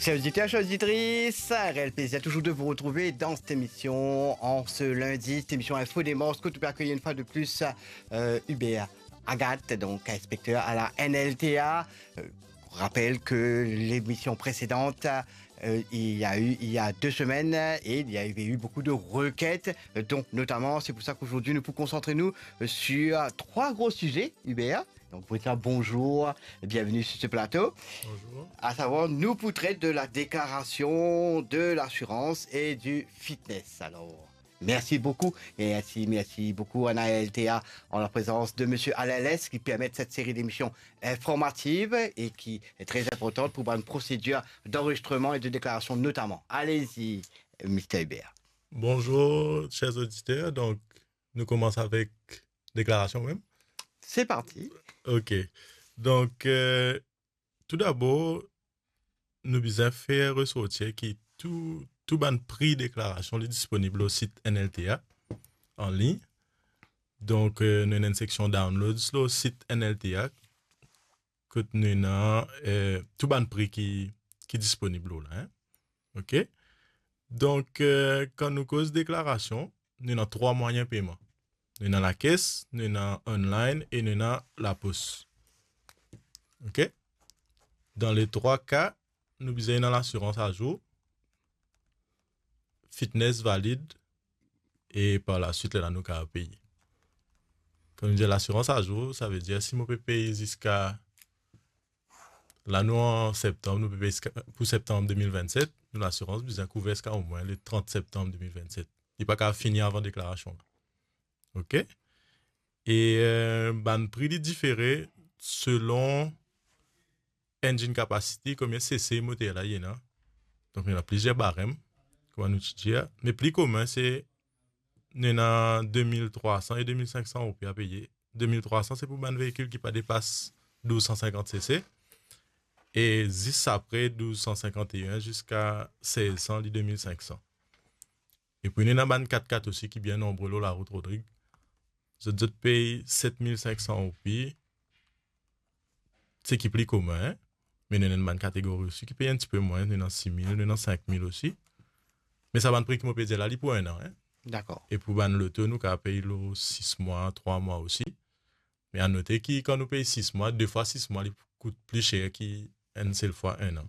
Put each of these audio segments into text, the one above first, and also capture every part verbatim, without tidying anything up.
Chers auditeurs, chères auditrices, un réel plaisir toujours de vous retrouver dans cette émission en ce lundi, cette émission Info Démence, kot nou pe akeyi une fois de plus euh, Hubert Agathe, donc inspecteur à la N L T A. Euh, je rappelle que l'émission précédente, euh, il y a eu il y a deux semaines et il y avait eu beaucoup de requêtes, euh, donc notamment, c'est pour ça qu'aujourd'hui nous pouvons concentrer nous euh, sur trois gros sujets, Hubert. Donc, pour dire bonjour, bienvenue sur ce plateau. Bonjour. À savoir, nou pou tret de la déclaration de l'assurance et du fitness. Alors, merci beaucoup. Et ainsi, merci beaucoup à N L T A en la présence de monsieur Alain Lès qui permet cette série d'émissions informatives et qui est très importante pour une procédure d'enregistrement et de déclaration notamment. Allez-y, monsieur Hubert. Bonjour, chers auditeurs. Donc, nou koumans avek deklarasion mem. C'est parti. Ok. Donk, euh, tou dabor, nou bizin fer resorti ki tou, tou bann pri deklarasion li disponib lor sit N L T A an lign. Donk, euh, nou ena enn seksion downloads lor sit N L T A, kot nou ena, euh, tou bann pri ki, ki disponib lor la, hein. Ok? Donk, euh, kan nou koz deklarasion, nou ena trwa mwayin peyman. Nou ena lakes, nou ena online e nou ena lapos. Ok? Dan le trwa ka, nou bizin ena lasirans azour, fitness valid, e par laswit, lerla nou kapav peye. Kan nou dir lasirans azour, savedir si mo pe pey ziska, la nou an septanm, nou pe pey ziska, pou septanm de mil vennset, nou lasirans bizin kouver ziska omwin le trant septanm de mil vennset. Li pa kapav fini avan deklarasion la. Ok? E, euh, bann pri li difere selon engine capacity, konbien cc moter la ena. Donk, ena plizier barem, kouma nou ti dir. Me pli komin, se, nou ena de mil trwa san e de mil sink san roupi a peye. De mil trwa san, se pou bann veikil ki pa depas douz san sinkant cc. E zis apre douz san sinkant e enn ziska sez san, li de mil sink san. E pou nou ena bann kat kat osi ki bien nonbre lor larout, Rodrig. Zot, zot pey set mil sink san roupi, seki pli komin, hein? Me nou ena bann kategori osi ki pey enn tipe mwin, nou ena sis mil, nou ena sink mil osi. Me sa bann pri ki mo pe dir la, li pou enn an, hein? Dakor. E pou bann loto, nou kapav pey lor sis mwa, trwa mwa osi. Me a note ki kan nou pey sis mwa, de fwa sis mwa, li pou kout pli ser ki enn sel fwa enn an.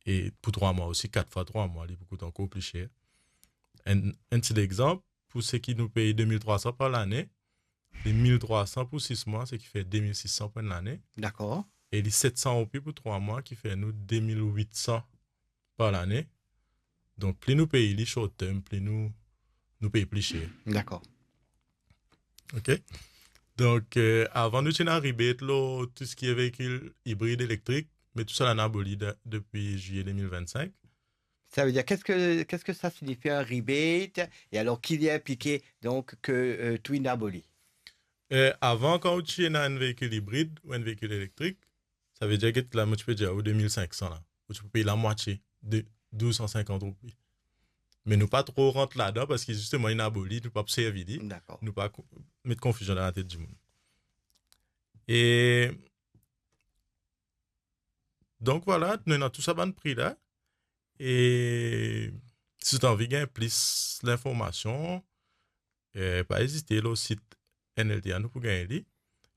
E pou trwa mwa osi, kat fwa trwa mwa, li pou kout ankor pli ser. Enn, enn ti legzanp, pou seki nou pey de mil trwa san par lane, li mil trwa san pou sis mwa, seki fer de mil sis san pou enn lane. Dakor. E li set san roupi pou trwa mwa, ki fer nou de mil wit san par lane. Donk, pli nou pey li short term, pli nou, nou pey pli ser. Dakor. Ok. Donk, euh, avan nou ti ena rebate lor tou seki veikil ibrid, elektrik, me tou sa la inn aboli de-, depi zilye de mil vennsink. Ça veut dire, qu'est-ce que, qu'est-ce que ça signifie un rebate ? Et alors, qui vient impliquer donc que euh, tout est aboli ? Euh, avan, kan ou ti ena enn veikil ibrid ou enn veikil elektrik, savedir get la, mo ti pe dir ou de mil sink san la, ou ti pou pey lamwatie, de douz san sinkant roupi. Me nou pa tro rant ladan, parski zisteman, inn aboli, nou pa pou servi li. Dakor. Nou pa ko-, met konfizion dan latet dimoun. E donk, vwala, nou ena tou sa bann pri la. E si zot anvi gagn plis linformasion, eh, pa ezite, lor sit N L T A nou pou gagn li.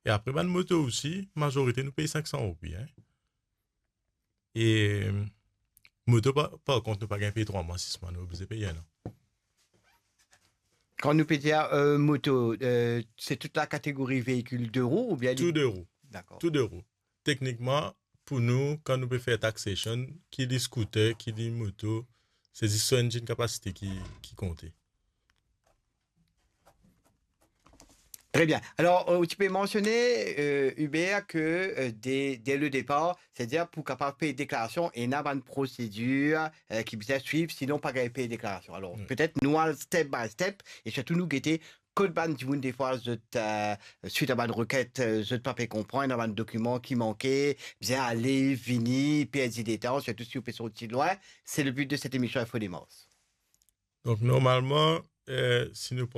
E apre, bann moto osi, mazorite nou pey sink san roupi, hein. E moto, par, par kont, nou pa gagn pey trwa mwa, sis mwa, nou oblize pey enn an. Kan nou pe dir euh, moto, euh, c'est toute la catégorie véhicule deux roues ou bien... Tou de rou. Dakor. Tou de rou. Teknikman, pou nou, kan nou pe fer taxation, ki li scooter, ki li moto, se zis so engine capacity ki, ki konte. Très bien. Alors, euh, tu peux mentionner, euh, Hubert, que euh, dès, dès le départ, c'est-à-dire pou kapav pey deklarasion, ena bann prosedir euh, ki bizin swiv, sinon pa gagn pey deklarasion. Alors, oui, peut-être nou al step by step, e sirtou nou gete kot bann dimoun defwa zot, euh, swit a bann requêtes, euh, zot pa pe konpran, ena bann dokiman ki manke, bizin ale, vini, perdi letan, sirtou si ou pe sorti lwin. C'est le but de cette émission Info Démence. Donk, normalman, euh, si nou pran